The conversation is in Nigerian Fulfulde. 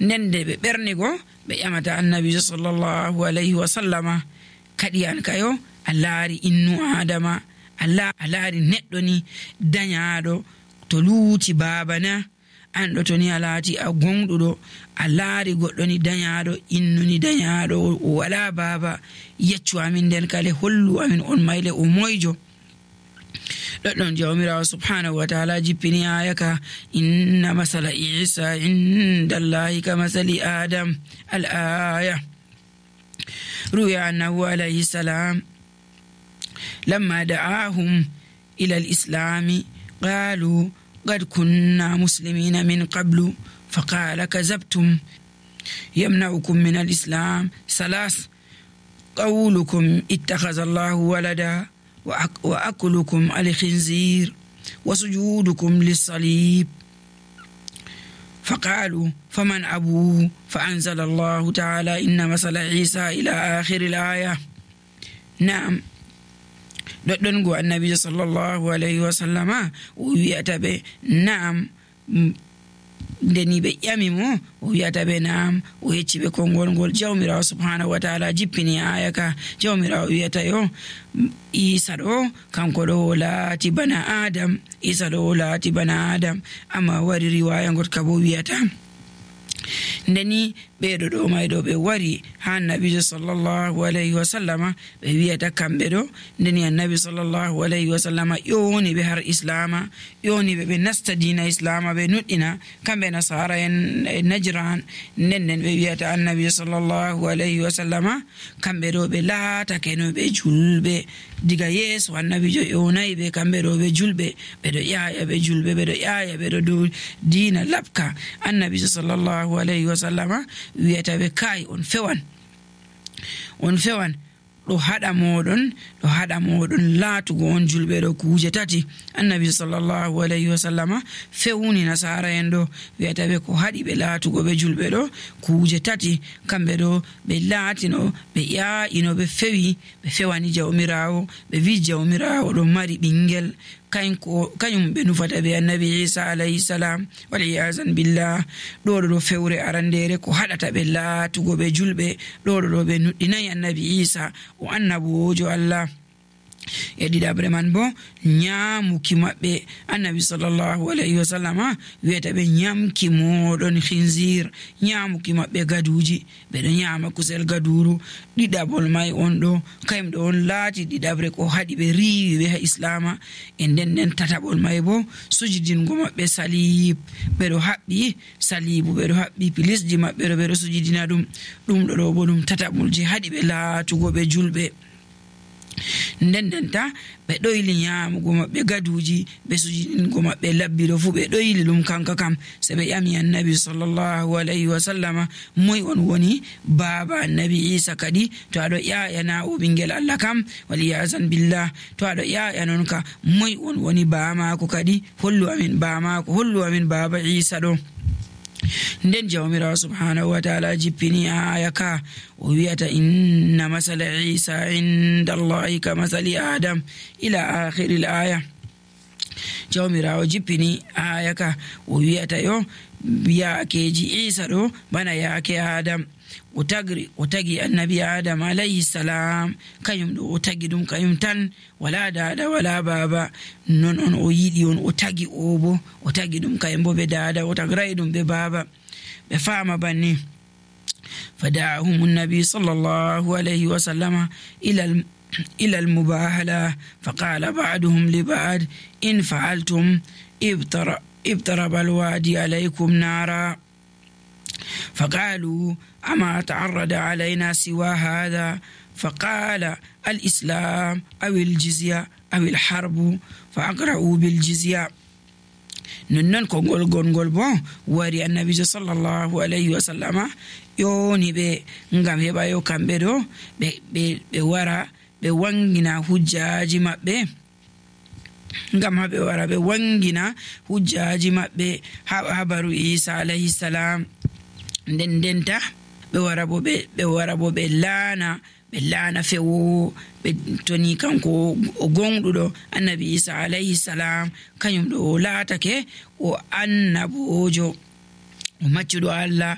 nden de ɓe ɓernigo ɓe ƴamata annabijo sallallahu alayhi wa sallama kadi an kayo a laari innu adama a laari neɗɗo ni dañaaɗo to luuti baabana an ɗo to ni a laati a gonɗuɗo a laari goɗɗo ni dañaaɗo innu ni dañaaɗo o wala baaba yeccu amin nden kale hollu amin on mayle o moyjo ɗoɗɗon jawmirawo subhanahu wa ta'ala jippini aya ka inna masala isa inda allahi ka masali adam al aya ruya annahu alayhi salam lamma da'ahum ila al-islami qalu قد كنا مسلمين من قبل فقال كذبتم يمنعكم من الإسلام ثلاث قولكم اتخذ الله ولدا وأكلكم الخنزير وسجودكم للصليب فقالوا فمن أبوه فأنزل الله تعالى إن مثل عيسى إلى آخر الآية. نعم ɗoɗɗon go annabijo sallallahu alayhi wa sallama o wiyata ɓe naam ndeni ɓe ƴami mo o wiyata ɓe naam o yecci ɓe konngol ngol jawmirawo subhanahu wa ta'ala jippini aya ka jawmirawo wiyata yo isa ɗo kanko ɗo laati bana adam isa ɗo laati bana adam amma wari riwaya ngotka bo wiyata ndeni ɓeɗo ɗo mayɗo ɓe wari ha annabijo sallallahu alayhi wa sallama ɓe wiyata kamɓe ɗo ndeni annabi sallallahu alayhi wa sallama ƴoni ɓe har islama ƴoni ɓe nasta dina islama ɓe nuɗɗina kamɓe nasara en najran nden ɓe wiyata annabijo sallallahu alayhi wa sallama kamɓe ɗo ɓe laatake no ɓe julɓe diga yeeso annabijo ƴonayi ɓe kamɓe ɗo ɓe julɓe ɓeɗo ƴaaya ɓe julɓe ɓeɗo ƴaaya ɓeɗo dow dina labka annabijo sallallahu alayhi wa sallama wiyata ɓe kai on fewan ɗo haɗa moɗon laatugo on julɓe ɗo kuuje tati annabi sallallahu alayhi wa sallama fewni nasara en ɗo wiyata ɓe ko haɗi ɓe laatugo ɓe julɓe ɗo kuuje tati kamɓe ɗo ɓe laatino ɓe ƴaa'ino ɓe fewani jawmirawo ɓe wi jawmirawo ɗo mari ɓingel kañum ɓe nufata ɓe annabi isa alayhi salam waliyazan billah ɗo fewre arandere ko haɗata ɓe laatugo ɓe julɓe ɗo ɓe nuɗɗinayi annabi isa o annabojo allah e ɗiɗaɓre man bo ñaamuki maɓɓe annabi sallallahu alayhi wa sallama wiyata ɓe ñamki moɗon khinzir ñaamuki maɓɓe gaduji ɓeɗo ñaama kusel gaduru ɗiɗaɓol may on ɗo kayum ɗo on laati ɗiɗaɓre ko haɗi ɓe riiwi ɓe ha islama e nden tataɓol may bo sujudingo maɓɓe salib ɓeɗo haɓɓi salibu ɓeɗo haɓɓi pilisji maɓɓe ɗo ɓeɗo sujudina ɗum ɗo bo ɗum tataɓolji haɗi ɓe laatugo ɓe julɓe ndendenta ɓe ɗoyli ñaamugo maɓɓe gaduji ɓe sujudingo maɓɓe labbiɗo fuu ɓe ɗoyli ɗum kanka kam se ɓe ƴami annabi sallallahu alayhi wa sallama moy on woni baaba annabi isa kadi to aɗo ƴaƴana o ɓingel allah kam waliyazan billah to aɗo ƴaƴa non ka moy on woni baamako kadi hollu amin baamako hollu amin baaba isa ɗo nden jawmirawo subhanahu wa ta'ala jippini aya ka o wiyata inna masala isa inda allahi ka masali adam ila akhiril aya jawmirawo jippini aya ka o wiyata yo yaakeji isa ɗo bana yaake adam o tagi annabi adam alayhi salam kañum ɗo o tagi ɗum kañum tan wala dada wala baba non on o yiɗi on o tagi o bo o tagi ɗum kañum bo ɓe dada o tagrayi ɗum ɓe baba ɓe faama banni fada'ahum annabi sallallahu alayhi wa sallama ila almubahala faqala ba'duhum li ba'd in fa'altum ibtaraba alwadi alaykum nara فقالوا أما تعرض علينا سوى هذا فقال الإسلام أو الجزية أو الحرب فأقرأوا بالجزية ننن كونغول غونغول بون واري النبي صلى الله عليه وسلم يوني بي ngam heba yo kambe do be wara be wangina hujjaji mabbe ngam habe wara be wangina hujjaji mabbe habaru Isa alayhi salam ndendenta ɓe wara bo ɓe laana fewo ɓe toni kanko o gonɗuɗo annabi isa alayhi salam kañum ɗo o laatake o annabojo o maccuɗo allah